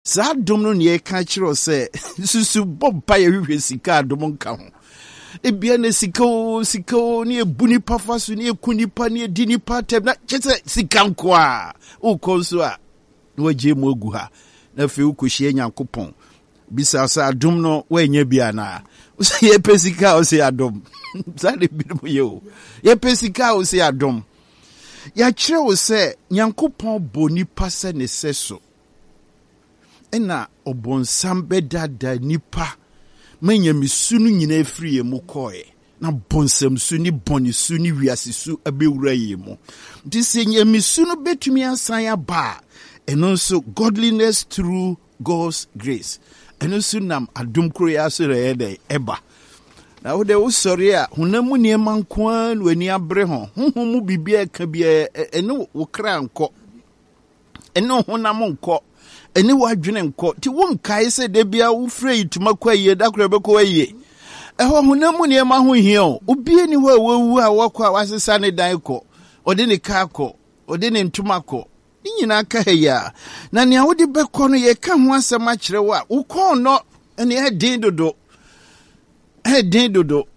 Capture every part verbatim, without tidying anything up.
Saa adom no na yɛka kyerɛ wo sɛ susu bɔ mpa yɛhwehwɛ sika adom nka ho. Ebia na sika o, sika o, ne yɛbu nipa fa so, ne yɛku nipa, ne yɛdi nipa atɛm, na kyɛ sɛ sika nko a wokɔ nso a na wagye mu agu ha. Na afei wokɔhyia Nyankopɔn, bisa sɛ adom no woanya bi anaa? Wosɛ yɛpɛ sika a wosɛ adom. Saa de binom yɛ o. Yɛpɛ sika a wosɛ adom. Yɛakyerɛ wo sɛ Nyankopɔn bɔ nipa sɛ ne sɛ so. Ɛna ɔbɔnsam bɛdaadaa nipa ma nyamesu no nyinaa firi yɛn mu kɔɛ. Na bɔnsamsu ne bɔnesu ne wiasesu abɛwura yɛn mu. Nti sɛ nyamesu no bɛtumi asan aba a, ɛno nso godliness through God's grace. Ɛno nso nam adom koro yi so na ɛyɛ dɛ ɛba. Na wode wosɔre a honam mu nneɛma nko ara na w'ani abere ho. Honhom mu biribi a ɛka biara ɛne wo kra nkɔ. Ɛne wo honam nkɔ. Ɛne w'adwene nkɔ. Nti wonkae sɛ da biara wofrɛ yi tuma kɔ ayie, da koro ɛbɛkɔ ayie. Ɛhɔ honam mu nneɛma ho hia o. Obi ni hɔ a wawu a wɔkɔ a wasesa ne dan kɔ. Ɔde ne kaa kɔ. Ɔde ne ntoma kɔ. Ne nyinaa ka ha yi a. Na nea wode bɛkɔ no yɛka ho asɛm akyerɛ wo a, wo kɔn nɔ ɛne ɛden dodo. Ɛden dodo.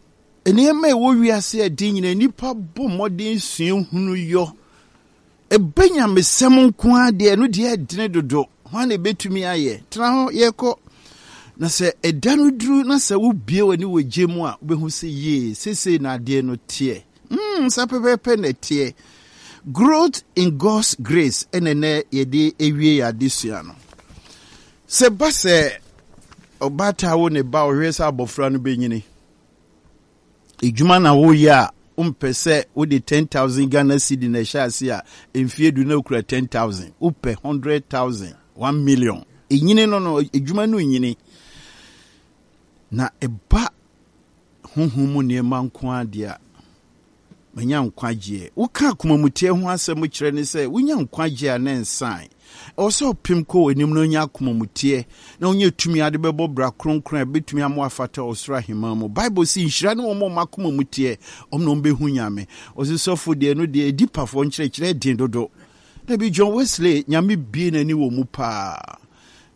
Nneɛma a ɛwɔ wiase a ɛden nyinaa nnipa bɔ mmɔden sua hunu yɔ. Ɛbɛ nyamesɛm nko ara deɛ ɛno deɛ ɛdene dodo. Hwan na ɛbɛtumi ayɛ? Tena hɔ yɛkɔ. Na sɛ ɛda no duru na sɛ wobie w'ani wɔ gye mu a, wobɛhu sɛ yie, seesei na adeɛ no teɛ. Mm, saa pɛpɛɛpɛ na ɛteɛ. Growth in God's grace ɛna ɛnɛ yɛde ewie yɛ adesua no. Sɛ ba sɛ ɔbaatan wo ne ba ɔhwɛ sɛ abɔfra no bɛnyini. Edwuma na woyɛ a wompɛ sɛ wode ten thousand Ghana cedi na ɛhyɛ ase a mfie du na okura ten thousand. Wopɛ hundred thousand, one million. Enyini no no edwuma no nyini. Na ɛba honhom mu nneɛma nko ara deɛ a manya nkwagyeɛ. Woka akomamuteɛ ho asɛm kyerɛ ne sɛ wonya nkwagyeɛ a ne nsan. Ɛwɔ sɛ ɔpem kɔ w'anim na onya akomamuteɛ na wonya tumi ade bɛbɔ bra kronkron a ɛbɛtumi ama afata ɔsoro ahemman mu. Bible si nhyira ne wɔn a wɔn akomamuteɛ, ɔmo na wɔn bɛhu Nyame. Ɔsi sɔfo deɛ no deɛ edi pafoɔ nkyerɛkyerɛ den dodo. Dabi John Wesley Nyame bie n'ani wɔ mu paa.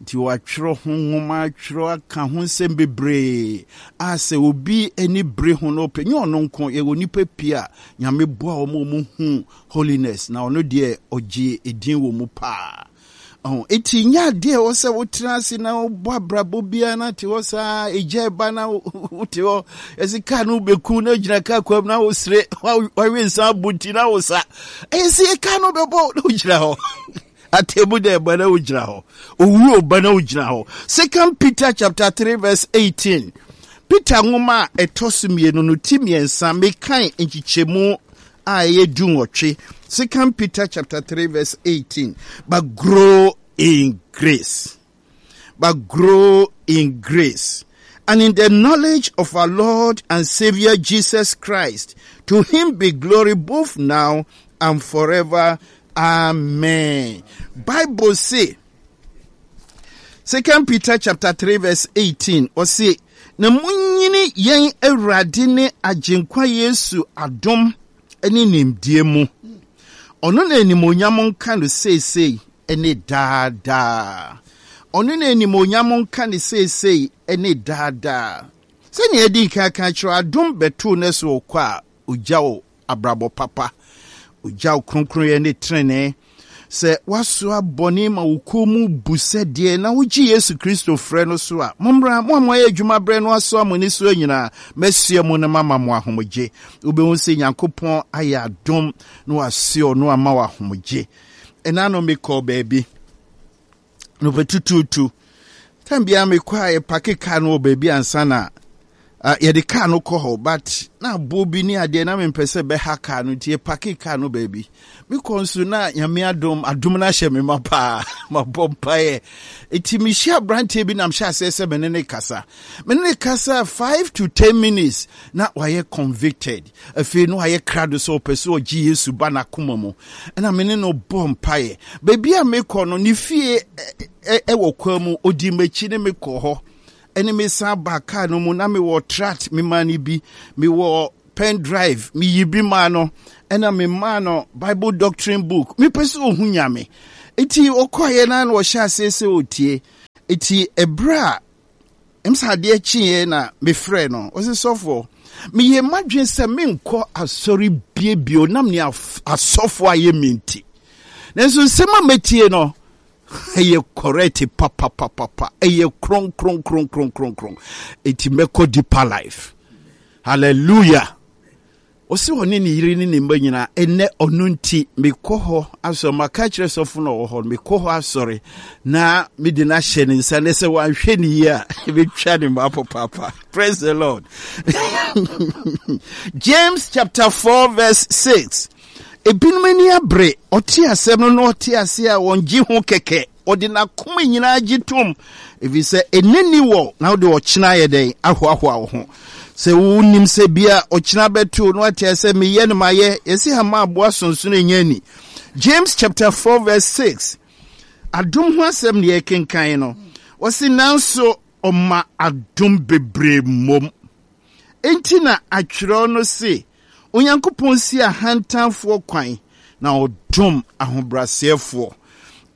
Nti wɔatwerɛ ho nwoma, atwerɛ aka ho nsɛm bebree a sɛ obi ani bere ho no ɔpɛ nyɛ ɔno nko yɛwɔ nipa pii a Nyame boa wɔn a wɔn hu holiness na ɔno deɛ ɔgye edin wɔ mu paa. Ɔho eti nyɛ adeɛ a ɛwɔ sɛ wotena ase na wobɔ abrabɔ biara na te hɔ saa egya ɛba na wote hɔ yɛsi kaa no bɛku na gyina kaa kwam na wosere wawe nsa abu nti na wosa ɛyɛ sɛ kaa no bɛbɔ na wogyina hɔ. Atemu dɛ ɛba na wogyina hɔ. Owu ɔba na wogyina hɔ. Second Peter chapter three verse eighteen. Peter nwoma a ɛtɔ so mmienu no ti mmiɛnsa mekan nkyekyɛmu a ɛyɛ du nwɔtwe. Second Peter chapter three verse eighteen. But grow in grace. But grow in grace and in the knowledge of our Lord and Savior Jesus Christ. To him be glory both now and forever. Amen. Bible say, Second Peter chapter three verse eighteen, or say, na munyini yɛn Awurade ne Agyenkwa Yesu adom ne nimdeɛ mu. Ɔno na animuonyam nka no seesei ne daadaa. Ɔno na animuonyam nka no seesei ne daadaa. Sɛnea yɛdi nkan aka kyerɛ adom bɛtoo ne so kɔ a ogya wo abrabɔ papa, ogya wo kronkronyɛ ne tenenee. Sɛ wasoa bɔne ma wo kɔn mu bu sɛ deɛ na wogye Yesu Kristo frɛ no so a, mommra, mo a moayɛ adwuma berɛ no asoa mo ani soɔ nyinaa, mɛsoa mu no mama mo ahomegye. Wobɛhu sɛ Nyankopɔn ayɛ adom na wasoa ɔno ama wo ahomegye. Ɛna no mekɔɔ baabi na ɔbɛtutuutu. Tam biara mekɔ a yɛpake kaa no wɔ baabi ansa na uh, yɛde kaa no kɔ hɔ, but na aboɔ bi ne adeɛ na mempɛ sɛ bɛha kaa no nti yɛpake kaa no baabi. Mekɔ nso na Nyame adom adom no ahyɛ me ma paa. Mabɔ mpaeɛ. Nti mehyia aberanteɛ bi na mehyɛ aseɛ sɛ me ne ne kasa. Me ne ne kasa five to ten minutes na wayɛ convicted. Afei na wayɛ krado sɛ ɔpɛ sɛ ɔgye Yesu ba n'akoma mu. Ɛna me ne no bɔ mpaeɛ. Baabi a mekɔ no ne fie ɛwɔ kwan mu, odi m'akyi ne mekɔ hɔ. Ɛne me san ba kaa no mu na mewɔ tract me maa no bi, mewɔ pen drive meyi bi maa no, ɛna me maa no Bible doctrine book. Mepɛ sɛ ohu Nyame. Nti ɔkɔeɛ na na ɔhyɛ aseɛ sɛ ɔtie. Eti ɛberɛ a ɛm sɛ adeɛ kyeeɛ na mefrɛ no, ɔse sɔfoɔ, meyɛ m'adwene sɛ menkɔ asɔre biebio nam ne asɔfoɔ ayɛ me nti. Nanso nsɛm a mɛtie no, ɛyɛ correct papapapapa, ɛyɛ kronkronkronkronkronkron. Eti mɛkɔ Deeper Life. Hallelujah. Ɔse ɔne ne yere ne ne mma nyinaa, ɛnɛ ɔno nti mekɔ hɔ asɔre. Maka kyerɛ sɔfo no ɔwɔ hɔ no, mekɔ hɔ asɔre na mede no ahyɛ ne nsa ne sɛ wanhwɛ ne yie a ɛbɛtwa ne mma papaapa. Praise the Lord. James chapter four verse six. Ebinom ani abere, ɔte asɛm no na ɔte ase a wɔngye ho kɛkɛ. Ɔde n'akoma nyinaa gye tom, ɛfiri sɛ ɛnɛ ni wɔ na wode ɔkyena ayɛ dɛn ahoahoa wo ho. Sɛ wonim sɛ bia ɔkyena bɛto no ate sɛ meyɛ no mayɛ, yɛsi hama aboa sonsono ɛnya ani. James chapter four verse six. Adom ho asɛm ne yɛkenkan no. Wɔsi nanso ɔma adom bebree mmom. Enti na atwerɛ no se, Onyankopɔn si ahantanfoɔ kwan na ɔdom ahobrɛaseɛfoɔ.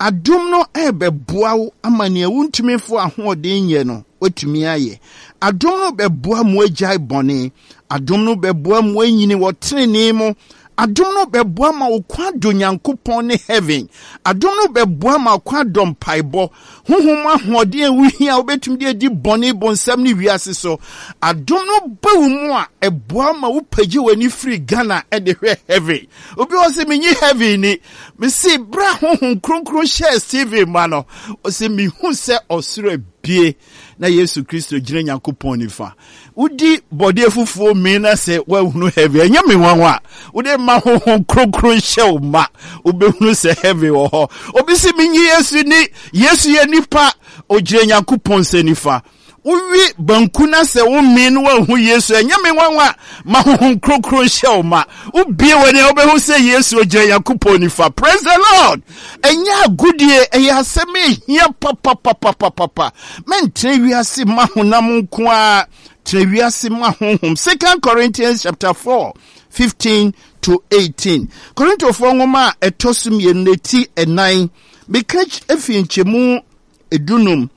Adom no ɛbɛboa wo ama nea wontumi fo ahoɔden nyɛ no, woatumi ayɛ. Adom no bɛboa mo agyae bɔne. Adom no bɛboa mo anyini wɔ tenenee mu. Adom no bɛboa ma wo kwan dɔ Nyankopɔn ne heaven. Adom no bɛboa ma wo kwan dɔ mpaebɔ. Honhom ahoɔden a wohia a wobɛtumi de adi bɔne, bonsam ne wiase so. Adom no ba wo mu a, ɛboa ma wopagye w'ani firi Ghana de hwɛ heaven. Obi wɔ sɛ menyi heaven ni. Mese berɛ a Honhom Kronkron hyɛɛ Stephen ma no, ɔsɛ mehu sɛ ɔsoro abie na Yesu Kristo gyina Nyankopɔn nifa. Wodi bɔdeɛ fufuo mee na sɛ woahunu heaven, ɛnyɛ me nwanwa. Wode ma Honhom Kronkron hyɛ wo ma, wobɛhunu sɛ heaven wɔ hɔ. Obi se menyi Yesu ni, Yesu yɛ nipa, ogyina Nyankopɔn nsa nifa. Wowi banku na sɛ wo mee no woahu Yesu, ɛnyɛ me nwanwa. Ma Honhom Kronkron hyɛ wo ma. Wobie w'ani a wobɛhu sɛ Yesu ogyina Nyankopɔn nifa. Praise the Lord. Ɛnyɛ agodie, ɛyɛ asɛm a ɛhia papapapapapa. Mɛntena wiase ma honam nko ara, tena wiase ma honhom. Second Corinthians chapter four, fifteen to eighteen. Korintofoɔ nwoma a ɛtɔ so mmienu no ti ɛnan. Meka efi nkyɛmu edunum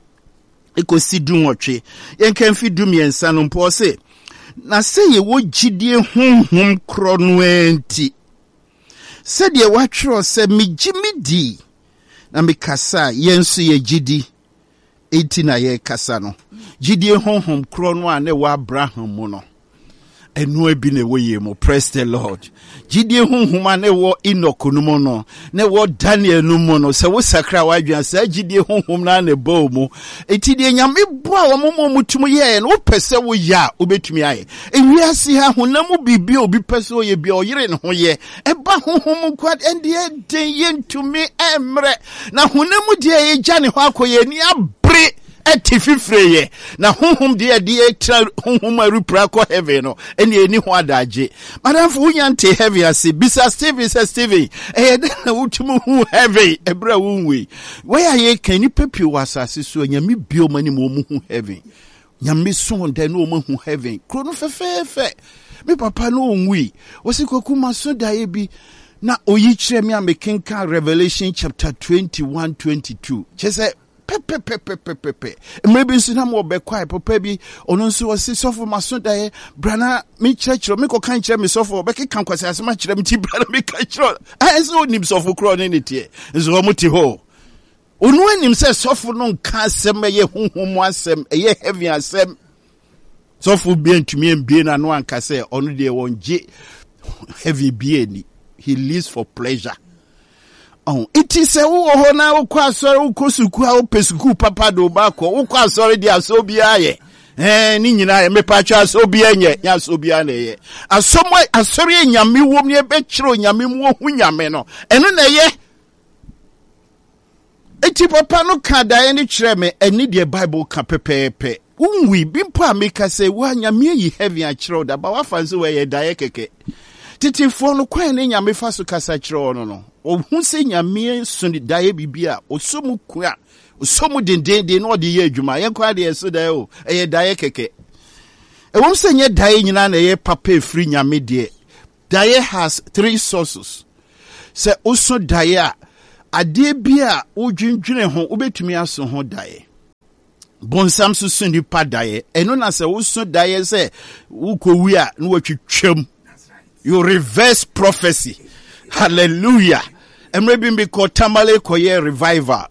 ekosi dunwɔtwe. Yɛnka mfi dumiɛnsa no mpo, ɔse, na sɛ yɛwɔ gyidie honhom korɔ no ara nti, sɛdeɛ wɔatwerɛ sɛ, megye medi na mekasa, yɛn nso yɛgye di, enti na yɛrekasa no. Gyidie honhom korɔ no a na ɛwɔ Abraham mu no, ɛno bi na ɛwɔ yɛn mu. Praise the Lord. Gyidie honhom a na ɛwɔ Enoch no mu no, na ɛwɔ Daniel no mu no, sɛ wosakra w'adwene, saa gyidie honhom no a na ɛbɔ wo mu. Enti deɛ Nyame boa wɔn ma wɔn tumi yɛɛ no, wopɛ sɛ woyɛ a, wobɛtumi ayɛ. Ewiase ha, honam mu biribi a obi pɛ sɛ ɔyɛ bi a, ɔyere ne ho yɛ. Ɛba honhom nko a, ɛndeɛ den, yɛntumi mmerɛ. Na honam mu deɛ yɛgya ne hɔ akɔ, yɛn ani abere ɛte fifire yɛ. Na honhom deɛ yɛde yɛtra honhom a ɛrepira kɔ heaven no, ɛne ɛni ho adagye. Madamfo, wonya nte heaven ase. Bisa Stephen sɛ, Stephen, ɛyɛ dɛn na wotumi hu heaven ɛberɛ a wonwui? Wei a yɛka, nnipa pii wɔ asase so a Nyame bue wɔn anim wɔn hu heaven. Nyame so wɔn dɛn na wɔn ahu heaven. Kuro no fɛfɛɛfɛ. Me papa no ɔnwui. Wɔsi Kwaku maso daeɛ bi na oyi kyerɛ me a mekenkan Revelation chapter twenty-one, twenty-two. Kyerɛ sɛ pɛpɛpɛpɛpɛpɛ. Mmerɛ bi nso na mo ɔbɛkwae papa bi, ɔno nso ɔse sɔfo maso daeɛ, bra na mekyerɛkyerɛ, mekɔka nkyerɛ me sɔfo, ɔbɛkeka nkwasi asɛm akyerɛ me nti bra na meka kyerɛ. Ayɛ sɛ ɔnim sɔfo korɔ ne ne teɛ, nso wɔn te hɔ. Ɔno anim sɛ sɔfo no nka asɛm, ɛyɛ honhom mu asɛm, ɛyɛ heaven asɛm. Sɔfo bi ntumi mbie n'ano anka sɛ ɔno deɛ wɔngye heaven bi ani. He lives for pleasure. Oh, iti sɛ wowɔ hɔ na wokɔ asɔre, wokɔ sukuu a wopɛ sukuu papa de wo ba kɔ, wokɔ asɔre deɛ asɔ obiara yɛ. Ɛɛ, ne nyinaa yɛ mepatwa asɔ obiara nyɛ, nyɛ asɔ obiara na ɛyɛ. Asɔm asɔre a Nyame wom ne ɛbɛkyerɛ Onyame mu ohu Nyame no, ɛno na ɛyɛ. Eti papa no ka daeɛ no kyerɛ me, ɛne deɛ Bible ka pɛpɛɛpɛ. Wonwui bi mpo a meka sɛ wa Nyame ayi heaven akyerɛ wo da, ba wafa nso wɔyɛ daeɛ kɛkɛ. Tetefoɔ no kwan ne Nyame fa so kasa kyerɛ wɔn no, ɔhu sɛ Nyame so daeɛ biribi a, ɔsɔ mu kua, ɔsɔ mu dendenden na ɔde yɛ adwuma. Yɛn kwan deɛ ɛso daeɛ o, ɛyɛ daeɛ kɛkɛ. Ɛwom sɛ nyɛ daeɛ nyinaa na ɛyɛ papa ɛfiri Nyame deɛ. Daeɛ has three sources. Sɛ woso daeɛ a, adeɛ bi a wodwendwene ho, wobɛtumi aso ho daeɛ. Bonsam so so nipa daeɛ. Ɛno na sɛ woso daeɛ sɛ wokɔwu a, na watwitwam. You reverse prophecy. Hallelujah. Mmerɛ bi mekɔ Tamale kɔyɛ revival.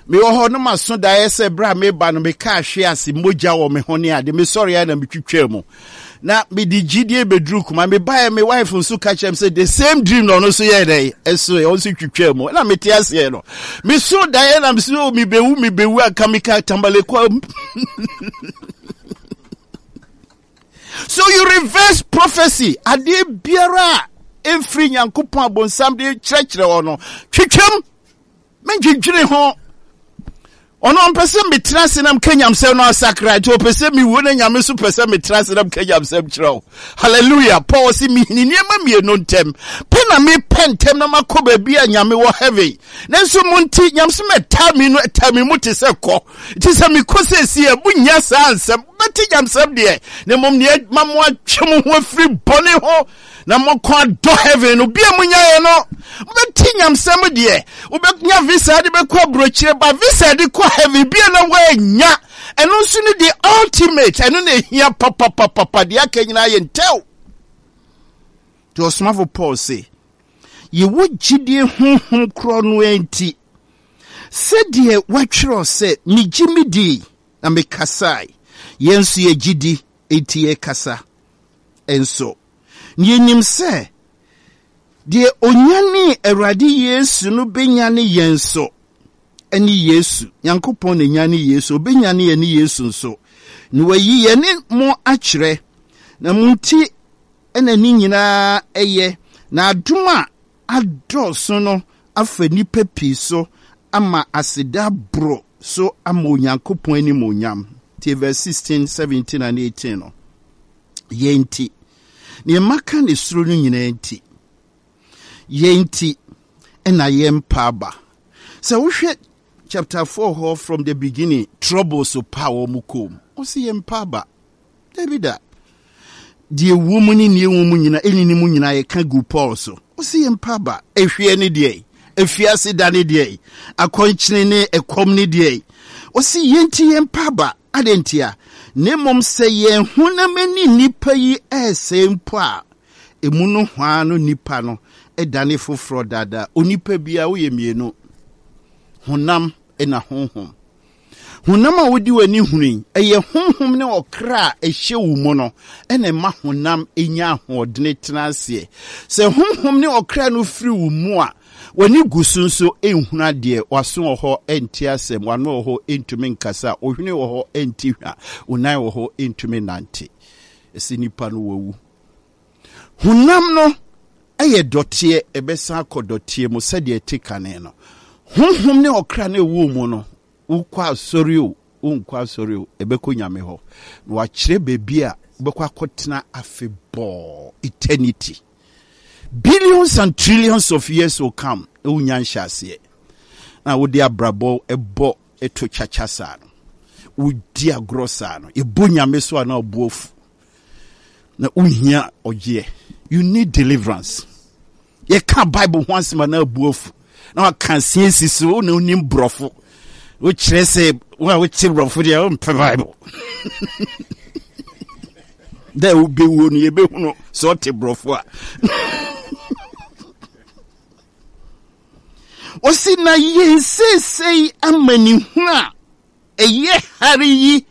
Mewɔ hɔ no, maso daeɛ sɛ berɛ a meba no, meka ahwe ase, mogya wɔ me ho ne ade. Mesɔre a na metwitwaa mu. Na mede gyidie bɛduru kuma. Mebaeɛ, me wife nso ka kyerɛ me sɛ the same dream na ɔno nso yɛɛ dɛn? Ɛso ɔno nso twitwaa mu. Na mete aseɛ no, meso daeɛ na mesɛ, oh, mebɛwu, mebɛwu anka meka Tamale kɔ. So you reverse prophecy. Adeɛ biara a ɛmfiri Nyankopɔn abonsam de kyerɛkyerɛ wɔ no, twitwam. Mentwentwene ho. Ɔno ɔmpɛ sɛ metena ase na mka nyamsɛm no asakra, nti ɔpɛ sɛ mewu, na Nyame nso pɛ sɛ metena ase na mka nyamsɛm kyerɛ wo. Hallelujah. Paul se mehini nneɛma mmienu ntɛm pɛ na mepɛ ntɛm na makɔ baabi a Nyame wɔ, heaven. Nanso mo nti nyamsɛm ɛtaa mi no, ɛtaa mi mu te sɛ kɔ. Nti sɛ mekɔ sɛsi a, monya saa nsɛm bɛte nyamsɛm deɛ, na mmom neɛ ma mo atwe mo ho afiri bɔne ho na mokɔ adɔ heaven no bia munyaeɛ no. Wobɛte nyamsɛm deɛ, wobɛnya visa de bɛkɔ aburokyire, ba visa de kɔ heaven bia na woanya. Ɛno nso ne the ultimate, ɛno na ɛhia papapapapa. Deɛ aka nyinaa yɛ ntɛw. Nti ɔsomafo Paul se yɛwɔ gyidie honhom korɔ no nti, sɛdeɛ wɔatwerɛ sɛ, megye medii na mekasae, yɛn nso yɛgye di, enti yɛkasa nso. Na yɛnim sɛ deɛ ɔnyanee Awurade Yesu no bɛnyane yɛn nso ne Yesu. Nyankopɔn na nyane Yesu, ɔbɛnyane yɛn ne Yesu nso, na wayi yɛne mo akyerɛ. Na mo nti na ne nyinaa ɛyɛ, na adom a adɔɔso no afa nnipa pii so ama aseda aboro so ama Onyankopɔn animuonyam. Tie verse sixteen, seventeen and eighteen no. Yɛn nti, nea maka ne soro no nyinaa nti, yɛn nti ɛna yɛmpa aba. Sɛ wohwɛ chapter four hɔ from the beginning, trouble so pa wɔn kɔn mu. Ɔsi yɛmpa aba. Dabi da. Deɛ ɛwɔ mu ne nea ɛwɔ mu nyinaa, ɛni ne mu nyinaa yɛka gu Paul so. Ɔsi yɛmpa aba. Ehwie ne deɛ, efiase da ne deɛ, akɔnkyene ne ɛkɔm ne deɛ. Ɔsi yɛn ti yɛmpa aba. Adɛn ntia? Na mmom sɛ yɛn honam ani nnipa yi ɛresɛe mpo a, emu no hwaa no nipa no ɛdane foforɔ daadaa. Onipa biara woyɛ mmienu, honam na honhom. Honam a wodi w'ani hunu yi, ɛyɛ honhom ne ɔkra a ɛhyɛ wo mu no ɛna ɛma honam nya ahoɔdene tena aseɛ. Sɛ honhom ne ɔkra no firi wo mu a, w'ani gu so nso nhunu adeɛ, w'aso wɔ hɔ nte asɛm, w'ano wɔ hɔ ntumi nkasa, wo hwene wɔ hɔ nte hwa, wo nan wɔ hɔ ntumi nante. Ɛsɛ nipa no wawu. Honam no ɛyɛ dɔteɛ, ɛbɛsan akɔ dɔteɛ mu sɛdeɛ ɛte kane no. Honhom ne ɔkra no ɛwɔ mu no, wokɔ asɔre o, wonkɔ asɔre o, ɛbɛkɔ Nyame hɔ. Na wakyerɛ baabi a wobɛkɔ akɔtena afebɔɔ, eternity. Billions and trillions of years will come na wonya nhyɛ aseɛ. Na wode abrabɔ ɛbɔ ɛto kyakya saa no, wodi agorɔ saa no, yɛbɔ Nyame so a na ɔbo afu. Na wohia ɔgyeɛ. You need deliverance. Yɛka Bible ho asɛm a na abu afu. Na waka siesie so, wo na wonim borɔfo. Wokyerɛ sɛ wo a wote borɔfo deɛ wompɛ Bible. Dɛ wobɛwuo no yɛbɛhunu sɛ ɔte borɔfo a. Ɔsi na yɛn seesei amanehunu a ɛyɛ hare yi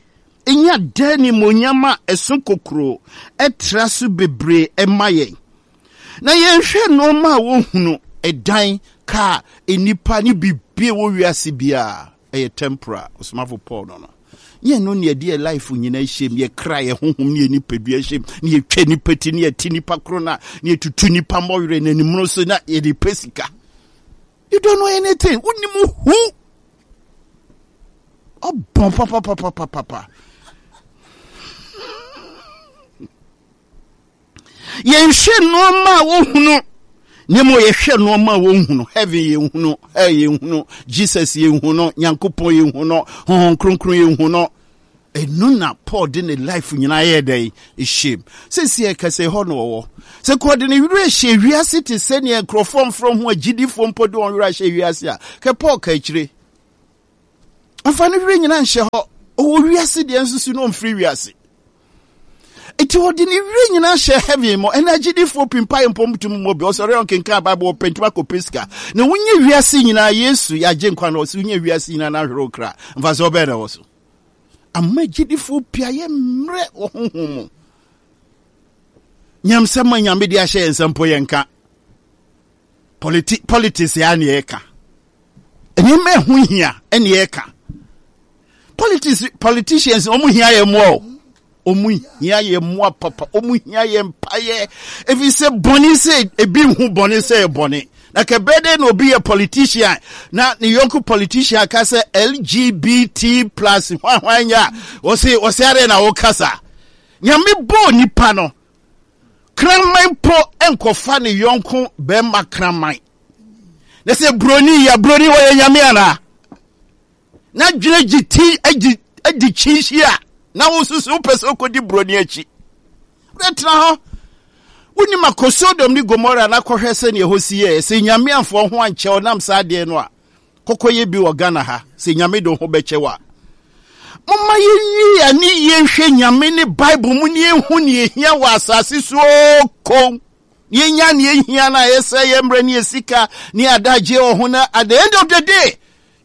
nya daa animuonyam a ɛso kokuroo ɛtra so bebree ɛma yɛn. Na yɛnhwɛ nneɛma a wɔhunu, ɛdan, kaa, nnipa ne biribi a ɛwɔ wiase biara, ɛyɛ temporal. Ɔsomafo Paul no no. Yɛn no ne yɛde yɛ life nyinaa hyɛ mu, yɛ kra, yɛ honhom ne yɛ nipadua hyɛ mu, ne yɛtwa nipa ti, ne yɛte nipa koro na ne yɛtutu nipa mmɔwerɛ na animuno so na yɛde pɛ sika. You don't know anything. Wonim hu. Ɔbɔn papapapapapa. Yɛnhwɛ nneɛma a wɔhunu, na mmom yɛhwɛ nneɛma a wɔnhunu. Heaven yɛnhunu, hell yɛnhunu, Jesus yɛnhunu, Nyankopɔn yɛnhunu, Honhom Kronkron yɛnhunu. Ɛno na Paul de ne life nyinaa yɛ dɛn ɛhyɛm. Sɛsi ɛkɛsɛ hɔ na ɔwɔ. Sɛ kɔ de ne werɛ hyɛ wiase te sɛ nea nkurɔfoɔ mfrɛ ho agyidifoɔ mpo de wɔn werɛ ahyɛ wiase a, kɛ Paul ka akyire. Ɔmfa ne werɛ nyinaa nhyɛ hɔ. Ɔwɔ wiase deɛ nso so na ɔmfiri wiase. Enti ɔde ne werɛ nyinaa hyɛ heaven mu. Ɛna agyidifoɔ pii mpaeɛ mpo ntumi mmɔ bi. Ɔsɔre a ɔnkenkan Bible, ɔpɛ ntumi akɔpɛ sika. Na wonya wiase nyinaa, Yesu yɛagye nkwa no, ɔse wonya wiase nyinaa na ahwere wo kra. Mfasoɔ bɛn na ɛwɔ so? Ama agyidifoɔ pii ayɛ mmerɛ wɔ honhom mu. Nyamsɛm a Nyame de ahyɛ yɛn nsa mpo yɛnka. Politi politics ya ne yɛka. Nneɛma ɛho hia ɛne yɛka. Politics politicians wɔn hia yɛn mmoa o. Wɔn hia yɛn mmoa papa. Wɔn hia yɛn mpaeɛ. Efi sɛ bɔne sɛ ebi nhu bɔne sɛ bɔne. Na kɛbɛɛ dɛ na obi yɛ politician na ne yɔnko politician ka sɛ L G B T plus hwan hwan nya a wɔse wɔse adeɛ na wɔkasa. Nyame bɔɔ nipa no, kraman mpo nkɔfa ne yɔnko bɛrima kraman. Na sɛ broni yɛ broni, wɔyɛ nyame anaa? Na dwene gye ti agyi adi kyinhyi a na wosusu wopɛ sɛ wokɔdi broni akyi. Wobɛtena hɔ wonim akɔ Sodom ne Gomora na kɔhwɛ sɛneɛ ɛhɔ si yɛɛ. Sɛ Nyame amfoɔ ho ankyɛ ɔnam saa adeɛ no a kɔkɔyɛ bi wɔ Ghana ha, sɛ Nyame de wo ho bɛkyɛ wo a. Momma yɛnwie ane yɛnhwɛ Nyame ne Bible mu ne yɛnhu ne yɛhia wɔ asase so kom. Yɛnya ne yɛhia no a ɛsɛ yɛ mmerɛ ne yɛ sika ne adagye wɔ ho na at the end of the day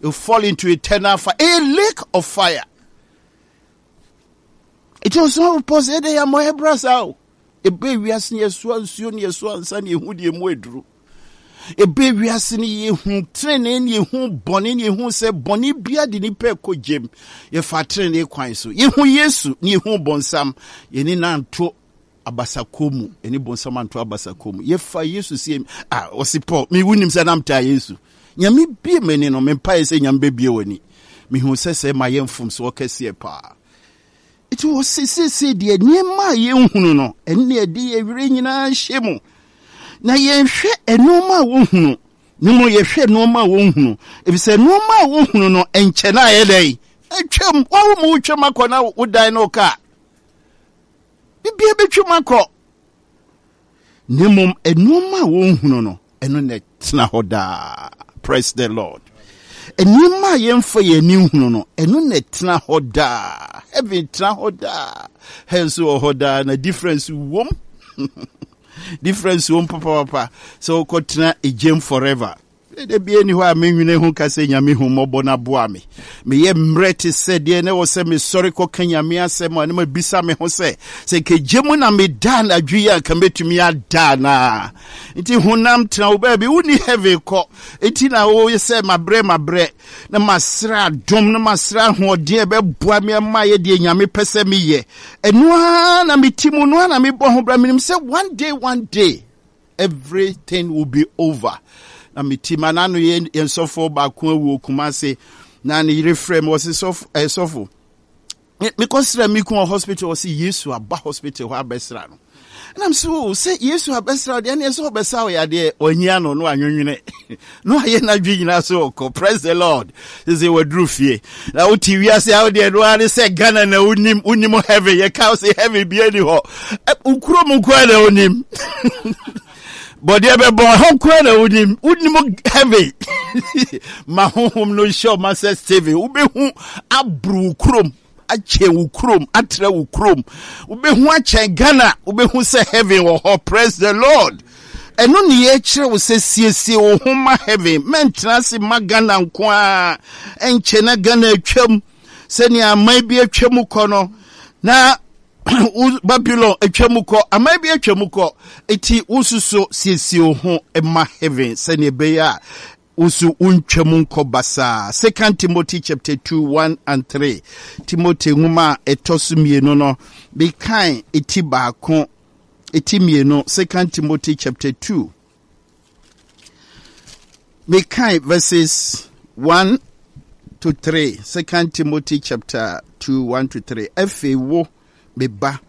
you fall into eternal fire, a lake of fire. Ɛti ɔsomafo Paul sɛ ɛdɛ yɛ ammɔ ɛbra saa o. Ɛbɛ wiase ne yɛsoa nsuo ne yɛsoa nsa ne yɛhu deɛ mu aduru. Ɛbɛ wiase ne yɛhu tenenee ne yɛhu bɔne ne yɛhu sɛ bɔne bia de nipa ɛkɔ gyem. Yɛfa tenenee kwan so. Yɛhu Yesu ne yɛhu bɔnsam. Yɛne nanto abasakɔ mu, ɛne bɔnsam anto abasakɔ mu. Yɛfa Yesu sie a ɔse Paul, me wonim sɛ nam taa Yesu. Nyame bie m'ani no, mempaeɛ sɛ Nyame bɛbie w'ani. Mehu sɛ sɛ ma yɛ mfomsoɔ kɛseɛ paa. Nti wɔ seesei deɛ nneɛma a yɛnhunu no, ɛne ɛde yɛ werɛ nyinaa hyɛ mu. Na yɛnhwɛ nneɛma a wɔhunu, ne mu yɛhwɛ nneɛma a wɔnhunu. Efisɛ nneɛma a wɔhunu no, nkyɛ na ayɛ dɛn? Atwam. Wawo mu wotwam akɔ na wodan no kaa. Bibia bɛtwam akɔ. Na mmom nneɛma a wɔnhunu no, ɛno na ɛtena hɔ daa. Praise the Lord. Nneɛma a yɛmfa yɛn ani nhunu no, ɛno na ɛtena hɔ daa. Heaven tena hɔ daa, hell nso wɔ hɔ daa, na difference wom, difference wom papapapa. Sɛ wokɔtena egyem forever da bia ni hɔ a menwene ho ka sɛ Nyame hu mmɔbɔ no aboa me. Meyɛ mmerɛ te sɛ deɛ na ɛwɔ sɛ mesɔre kɔka Nyame asɛm a, na mabisa me ho sɛ sɛ kɛgye mu na meda anadwo yi a, nka mɛtumi ada anaa? Nti honam tena wo baabi, wonni heaven kɔ. Nti na woyɛ sɛ mabrɛ mabrɛ na masrɛ adom na masrɛ ahoɔden a ɛbɛboa me ama yɛ deɛ Nyame pɛ sɛ meyɛ. Ɛno ara na meti mu no ara na mebɔ ho bra. Menim sɛ one day, one day everything will be over. Na meti ma n'ano yɛ yɛn sɔfo baako awu Kumase na ne yere frɛ me, wɔsi sɔfo ɛɛ sɔfo, mekɔsra me kun wɔ hospital. Wɔsi Yesu aba hospital hɔ abɛsra no. Ɛnam so o sɛ Yesu abɛsra deɛ, ɛne ɛsɛ ɔbɛsa wo yadeɛ. Ɔnyia no no anwenwene no ayɛ n'adwe nyinaa so ɔkɔ. Praise the Lord. Sɛ waduru fie na wote wiase a, wodeɛ no ara ne sɛ Ghana na wonim. Wonim heaven, yɛka wo sɛ heaven bia ni hɔ. Wo kurom nkoa na wonim, bɔdeɛ bɛbɔ ɛhɔ nkoa na wonim. Wonim heaven ma honhom no nhyɛ ɔma sɛ Steven wobɛhu aboro wo kurom, akyɛn wo kurom, atrɛ wo kurom, wobɛhu akyɛn Ghana, wobɛhu sɛ heaven wɔ hɔ. Praise the Lord. Ɛno ne yɛkyerɛ wo sɛ siesie wo ho ma heaven. Mɛntena ase ma Ghana nko a ɛnkyɛ na Ghana atwam sɛnea aman bi atwam kɔ no, na Babylon atwam kɔ, aman bi atwam kɔ. Eti wososo siesie wo ho ma heaven sɛnea ɛbɛyɛ a woso wontwam nkɔ basaa. Second Timothy chapter two one and three. Timothy nwoma a ɛtɔ so mmienu no, mekan eti baako, eti mmienu. Second Timothy chapter two, mekan verses one to three. Second Timothy chapter two one to three. Afei wo, me ba,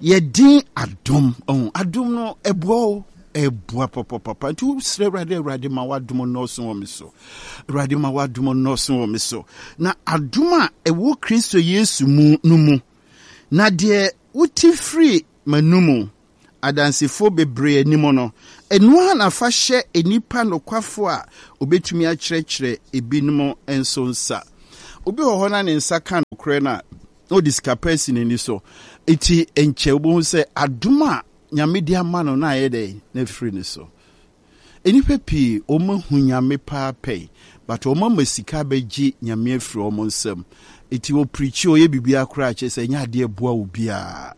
yɛdin adom ɔho adom no ɛboa o, ɛboa papapapa. Nti wosrɛ Awurade, Awurade ma w'adom nnɔɔso wɔ me so, Awurade ma w'adom nnɔɔso wɔ me so, na adom a ɛwɔ Kristo Yesu mu no mu. Na deɛ wote firi m'anomu adansefoɔ bebree anim no, ɛno ara na fa hyɛ nnipa nokwafoɔ a obɛtumi akyerɛkyerɛ ebinom nso nsa. Obi wɔ hɔ na ne nsa ka no nokorɛ no a, na ɔde sika pa asi n'ani so. Enti nkyɛ wobɛhu sɛ adom a Nyame de ama no no ayɛ dɛn? Na afiri ne so. Nnipa pii wɔn ahu Nyame paa pɛn but wɔn ama sika abɛgye Nyame afiri wɔn nsam. Enti wɔ preachi ɔyɛ biribiara koraa kyerɛ sɛ ɛnyɛ adeɛ ɛboa obiara.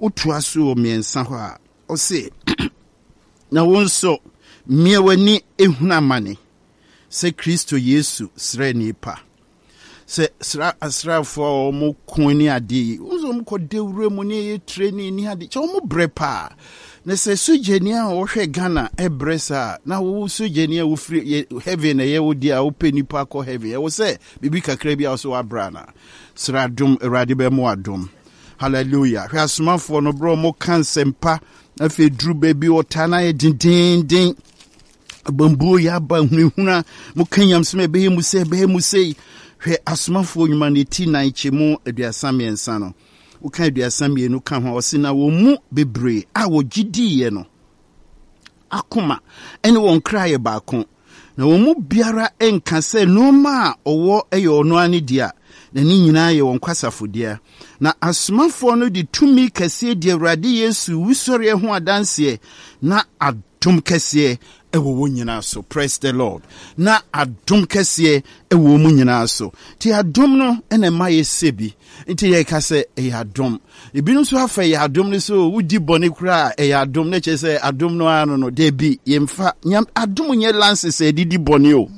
Wotoa so wɔ mmiɛnsa hɔ a, ɔse na wo nso mia w'ani ehunu amane sɛ Kristo Yesu sraani pa. Sɛ sra asraafoɔ a wɔn ko ne adeɛ yi, wɔn nso wɔn kɔ dawuro mu ne ɛyɛ training ne adeɛ, kyɛ wɔn brɛ paa. Na sɛ sogyani a wɔhwɛ Ghana ɛbrɛ saa, na wo sogyani a wofiri yɛ heaven na ɛyɛ wo deɛ a wopɛ nipa akɔ heaven, ɛwɔ sɛ biribi kakra bi a wɔso wabrɛ ana. Sra adom, Awurade bɛmo adom. Hallelujah. Hwɛ asomafoɔ no berɛ wɔn ka nsɛmpa, afei duru baabi ɔtaa no ayɛ dendenden. Abambuo yɛ aba hunahuna, moka nyamesɛm a ɛbɛyɛ mu sɛ ɛbɛyɛ mu sei. Hwɛ asomafoɔ nnwuma no ti nan kyɛmu aduasa mmiɛnsa no, woka aduasa mmienu ka ho a, ɔse na wɔn mu bebree a wɔgye diiɛ no akoma ne wɔn kra yɛ baako, na wɔn mu biara nka sɛ nneɛma a ɔwɔ yɛ ɔno ara ne dea, na ne nyinaa yɛ wɔn kwasafo dea. Na asomafoɔ no de tumi kɛseɛ di Awurade Yesu wusɔreɛ ho adanseɛ, na adom kɛseɛ ɛwɔ wɔn nyinaa so. Praise the Lord. Na adom kɛseɛ ɛwɔ wɔn nyinaa so. Nti adom no ɛna ɛma yɛ sɛ bi. Nti yɛka sɛ ɛyɛ adom. Ebinom nso afa ɛyɛ adom no so, wodi bɔne koraa ɛyɛ adom, na kyerɛ sɛ adom no ara no no. Dabi, yɛmfa nyam adom nyɛ lances a yɛde di bɔne o.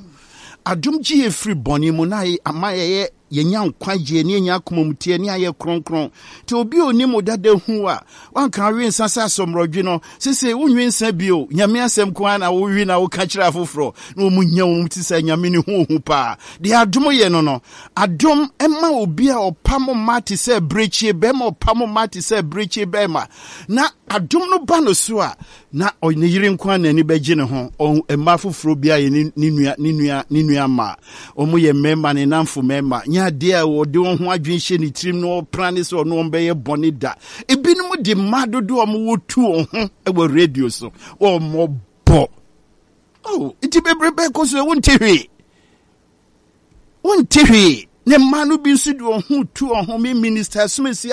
Adom gye yɛ firi bɔne mu na ama yɛyɛ yɛnya nkwagyeɛ ne yɛnya akoma mu teɛ ne ayɛ kronkron. Nti obi a onim wo dada hu a, wanka awe nsa sɛ asɔmmerɔdwe no, sese wonwe nsa bio, Nyame asɛm ko ara na wowe na woka kyerɛ afoforɔ, na wɔn nya wɔn ti sɛ Nyame ne ho ohu paa. Deɛ adom yɛ no no, adom ɛma obi a ɔpam mma te sɛ abirekyie bɛrima, ɔpam mma te sɛ abirekyie bɛrima, na adom no ba no so a, na ne yere nko ara n'ani bɛgye ne ho. Mmaa foforɔ bi ayɛ ne nua, ne nua, ne nua mmaa. Wɔn yɛ mmarima, ne namfo mmarima. Nyɛ adeɛ a wɔde wɔn ho adwene hyɛ ne tirim na ɔpra ne sɛ ɔno wɔn bɛyɛ bɔne da. Ebinom de mmaa dodoɔ a wɔwɔ tu wɔn ho wɔ radio so. Wɔn bɔ. Oh, nti bebrebe kɔ so wonte hwee. Wonte hwee. Ne mmaa no bi nso de wɔn ho tu wɔn ho. Me minister asomasi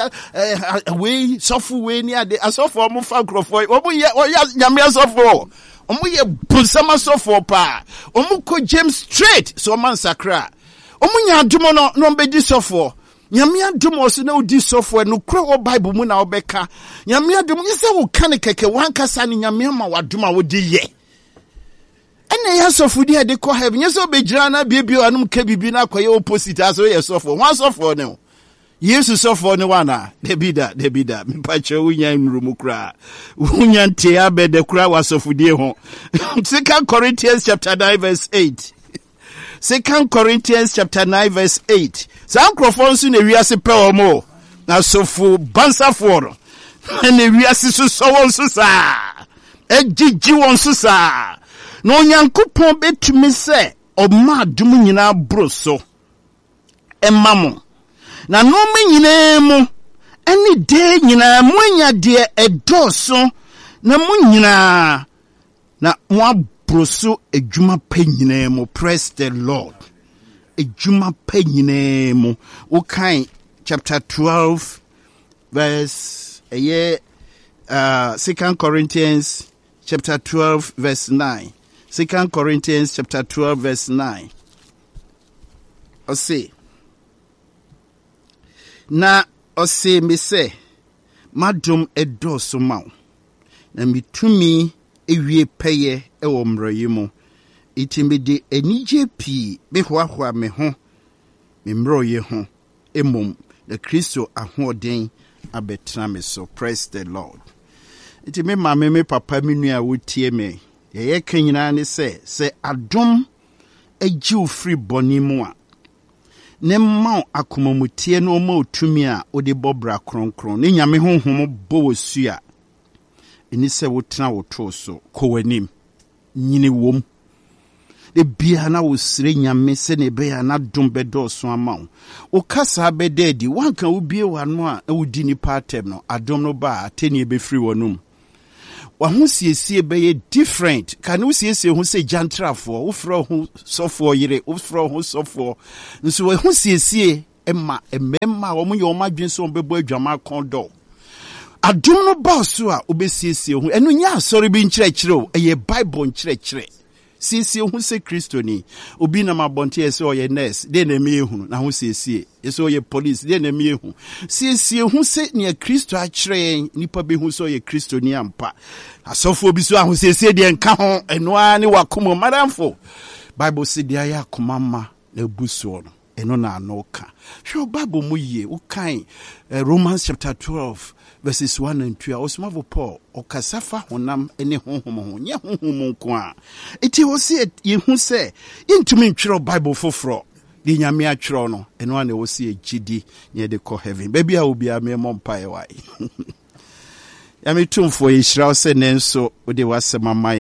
wei sɔfo wei ne ade asɔfo wɔn fa nkurɔfoɔ wɔn yɛ wɔyɛ nyame asɔfo, wɔn yɛ bonsam asɔfoɔ paa. Wɔn kɔ James straight so wɔn ansakra, wɔn nya adom no na wɔn bɛdi sɔfoɔ. Nyame adom wɔ so na wodi sɔfoɔ, nokorɛ wɔ Bible mu na wɔbɛka. Nyame adom nyɛ sɛ woka ne kɛkɛ, wankasa ne Nyame ama wadom a wode yɛ. Ɛna ɛyɛ asɔfodi a ɛde kɔ heaven. Nyɛ sɛ wobɛgyina na biebie w'anom ka biribi na akɔyɛ opposite asɛ woyɛ sɔfoɔ. Ho asɔfoɔ ne wo? Yesu sɔfoɔ ne wo anaa? Dabi da, dabi da. Mepa kyerɛ wonya nnuru mu koraa. Wonya ntee abɛdɛ koraa wɔ asɔfodie ho. Second Corinthians chapter nine verse eight. Second Corinthians chapter nine verse eight. Saa nkurɔfoɔ nso na ewiase pɛ wɔn o. Na asɔfo bansafoɔ no na ewiase sosɔ wɔn so saa. Ɛgyegye wɔn so saa. Na Onyankopɔn bɛtumi sɛ ɔma adom nyinaa boro so ɛma mo. Na nneɛma nyinaa mu ɛne deɛ nyinaa mo anya deɛ ɛdɔɔso na mo nyinaa na mo aboro so adwuma pa nyinaa mu. Praise the Lord. Adwuma pa nyinaa mu. Wokan chapter twelve verse ɛyɛ uh, Second Corinthians chapter twelve verse nine. Second Corinthians chapter twelve verse nine. Ɔse na ɔse me sɛ madom ɛdɔɔso ma wo na metumi ewie pɛyɛ ɛwɔ mmerɛyɛ mu. Enti mede anigye pii mehoahoa me ho me mmerɛyɛ ho mmom na Kristo ahoɔden abɛtena me so. Praise the Lord. Nti me maame, me papa, me nua a wotie me, deɛ yɛka nyinaa ne sɛ, sɛ adom agye wo firi bɔne mu a, ne mma wo akomamuteɛ na ɔma wo tumi a wode bɔ bra kronkron ne Nyame honhom bɔ wɔ su a, ɛni sɛ wotena wo too so, kɔ w'anim, nyini wom. De bia na wosrɛ Nyame sɛnea ɛbɛyɛ a n'adom bɛdɔɔso ama wo. Wo kasa bɛda adi, woanka wobie w'ano a na wodi nnipa atɛm no, adom no ba a atɛnnie bɛfiri w'anom. W'ahosiesie bɛyɛ different. Ka ne wosiesie ho sɛ gyantrafoɔ, wofrɛ wo ho sɔfoɔ yere, wofrɛ wo ho sɔfoɔ. Nso w'ahosiesie Ma mmarima a wɔyɛ wɔn adwene sɛ wɔbɛbɔ adwaman kɔn dɔ. Adom no ba so a, wobɛsiesie ho. Ɛno nyɛ asɔre bi nkyerɛkyerɛ o, ɛyɛ Bible nkyerɛkyerɛ. Siesie ho sɛ Kristoni. Obi nam abɔnten yɛ sɛ ɔyɛ nurse, deɛ na ɛmi ehunu na ho siesie. Yɛ sɛ ɔyɛ police, deɛ na ɛmi ehu. Siesie ho sɛ nea Kristo akyerɛ yɛn, nipa bɛhu sɛ ɔyɛ Kristoni ampa. Asɔfoɔ bi so ahosiesie deɛ nka ho, ɛno ara ne wakoma. Madamfo, Bible sɛ deɛ ayɛ akoma ma na ebu soɔ no, ɛno na ano ka. Hwɛ Bible mu yie, wokan eh, Romans chapter twelve verses one and two a, ɔsomafo Paul ɔkasa fa honam ne honhom ho, nyɛ honhom nko a. Enti wɔ sɛ yɛhu sɛ yɛntumi ntwerɛ Bible foforɔ. Deɛ Nyame atwerɛ no, ɛno a na ɛwɔ sɛ yɛgye di na yɛde kɔ heaven. Baabi a obiara mmɛmmɔ mpaeɛ wae. Nyame tumfoɔ, yɛhyira wo sɛ nnɛ nso wode w'asɛm ama.